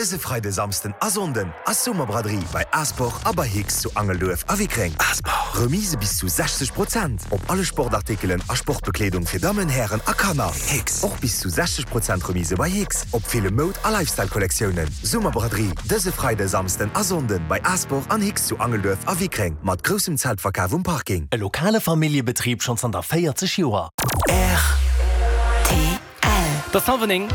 Dëse Freide, Samsden a Sonnden ass Summerbraderie bei Asport a bei Hicks zu Angelduerf a Wickreng. Asport! Remise bis zu 60 Prozent op alle Sportartikelen a Sportbekleedung fir Dammen, Hären a Kanner. Hicks! Och bis zu 60 Prozent Remise bei Hicks op ville Moud a Lifestyle-Kollektiounen. Summerbraderie dëse Freide, Samsden a Sonnden bei Asport an Hicks zu Angelduerf a Wickreng mat groussem Zeltverkaf um Parking. E lokale Familljebetrib schonn zanter 40 Joer. Rtl. Et ass hallwer 9.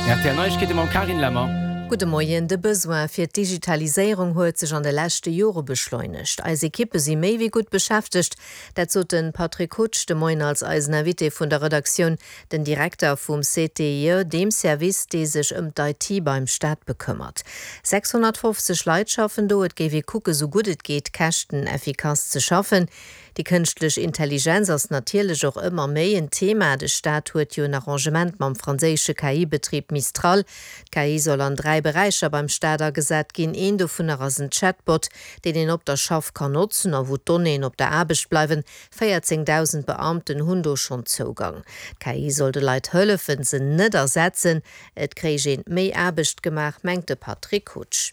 Rtl Neiegkeete mam Carine Lemmer. Gudde Moien. De Besoin fir d'Digitaliséierung huet sech an de leschte Jore beschleunegt. Eis Ekippe si méi wéi gutt beschäftegt. Dat sot de Patrick Hutsch de Moien als eisen Invité vun der Redaktioun, den Direkter vum CTIE, deem Service, dee sech ëm d'IT beim Staat bekëmmert. 650 Leit schaffen do. Et géif ee kucke sou gutt et geet käschteneffikass ze schaffen. Déi kënschtlech Intelligenz ass natierlech och ëmmer méi en Thema. De Staat huet jo en Arrangement mam franséische KI-Betrib Mistral. D'KI soll an 3 Beräicher beim Staat agesat ginn. Een dovunner ass en Chatbot, deen een op der Schaff kann notzen a wou d'Donnéeën op der Aarbecht bleiwen. 14.000 Beamten hunn do schonn Zougang. D'KI soll de Leit hëllefen, se net ersetzen. Et kréich een méi Aarbecht gemaach, mengt de Patrick Hutsch.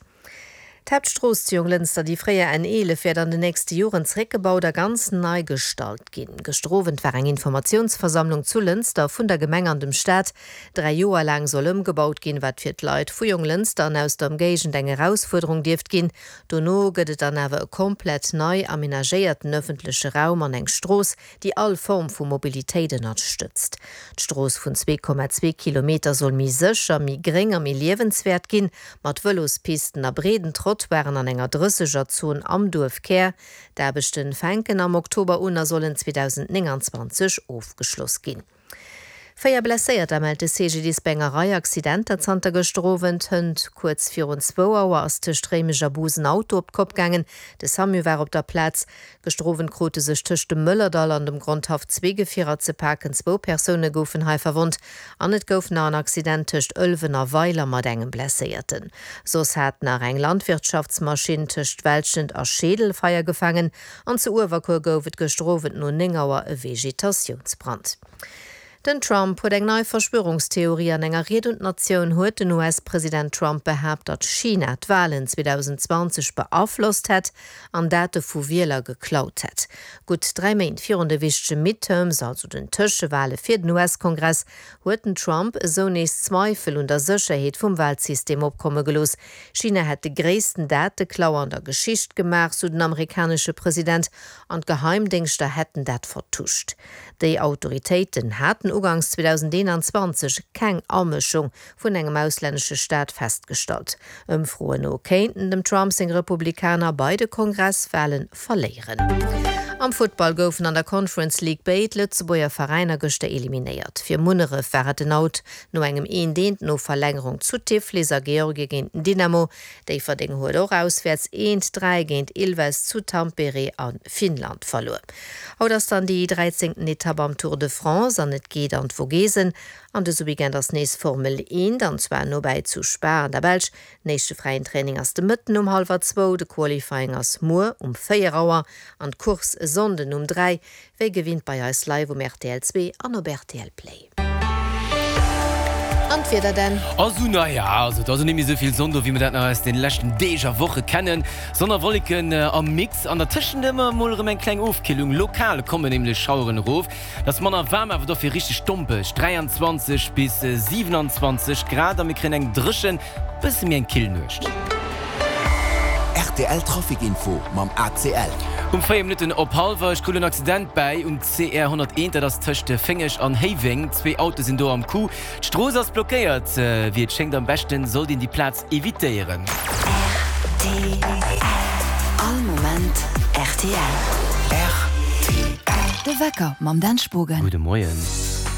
D'Haaptstrooss zu Jonglënster, déi fréier N 11, wäert an den nächste Joren zeréckgebaut a ganz nei gestalt ginn. Gëschter Owend war eng Informatiounsversammlung zu Lënster vun der Gemeng an dem Staat. 3 Joer laang soll ëmgebaut ginn, wat fir d'Leit vu Jonglënster an aus der Ëmgéigend eng Erausfuerderung dierft ginn. Dono gëtt et dann awer e komplett nei amenagéierten ëffentleche Raum an eng Strooss, déi all Form vu Mobilitéit ënnerstëtzt. D'Strooss vun 2,2 Kilometer soll méi sécher, méi gréng a méi liewenswäert ginn, mat Vëlospisten a breeden Trottoiren an enger Drëssegerzon am Duerfkär. D'Aarbechte fänken am Oktober un a sollen 2029 ofgeschloss ginn. 4 Blesséierter mellt de CGDIS bei enger Rei Accidenter zanter gëschter Owend. Hënt kuerz virun zwou Auer ass tëscht Réimech a Bus en Auto op d'Kopp gaangen. De Samu war op der Plaz. Gëschter Owend krute sech tëscht dem Mëllerdall an dem Grondhaff zwee Gefierer ze paken. Zwou Persoune goufen hei verwonnt an et gouf nach en Accident tëscht Ëlwen a Weiler mat engem Blesséierten. Soss hat nach eng Landwirtschaftsmaschinn tëscht Welschent a Scheedel Feier gefaangen an zu Uewerkuer gouf et gëschter Owend no 9 Auer e Vegetatiounsbrand. Den Trump huet eng nei Verschwörungstheorie. An enger Ried un d'Natioun huet den US-President Trump behaapt, datt China d'Walen 2020 beaflosst hätt an Date vu Wieler geklaut hätt. Gutt 3 Méint virun de wichtege Midterms, also den Tëschewale fir den US-Kongress, huet den Trump esou nees Zweifel un der Sécherheet vum Walsystem opkomme gelooss. China hätt de gréissten Dateklau an der Geschicht gemaach, sou den amerikanesche President, an d'Geheimdéngschter hätten dat vertuscht. Déi Autoritéiten haten uganks 2021 keng Amëschung vun engem auslännesche Staat festgestallt. Ëmfroen no kéinten dem Trump seng Republikaner bei de Kongresswale verléieren. Am Futtball goufen an der Conference League béid Lëtzebuerger Veräiner gëschter eliminéiert. Fir Munneref war et den Out no engem eent eent no Verlängerung zu Tiflis a Georgie géint den Dynamo. Déifferdeng huet och auswäerts eent 3 géint Ilves zu Tampere a Finnland verluer. Haut ass dann déi dräizéngten Etapp am Tour de France an et geet an d'Vogesen. An dëse Weekend ass nees Formel 1, an zwar nobäi zu Spa an der Belsch. Den éischte fräien Training ass de Mëtten um hallwer zwou, de Qualifying ass muer um 4 Auer an d'Course e Sonnden um 3. Wéi gewinnt bei eis live um rtl 2 an op rtl Play. An d'Wieder denn? Also naja, also et ass och net méi esou vill Sonn do, wéi mer dat nach aus den leschten Deeg a Woche kennen. Sonn a Wolleken am Mix an dertëschent ëmmer emol erëm eng kleng Ofkillung. Lokal kommen nämlech Schaueren erof. Et ass manner waarm, awer dofir richteg dompeg, 23 bis 27 Grad a mir kréien eng dréchen, bësse méi eng kill Nuecht. Rtl Trafic Info mam ACL. Um 4 Minutten op hallwer 8 krut en Accident bäi um CR 101, dat ass tëscht Féngeg an Héiweng. Zwee Autoe sinn do am Coup. D'Strooss ass blockéiert. Wéi et schéngt, am beschten sollt een déi Plaz evitéieren. Rtl, All Moment rtl. Rtl. De Wecker mam Dan Spogen. Gudde Moien.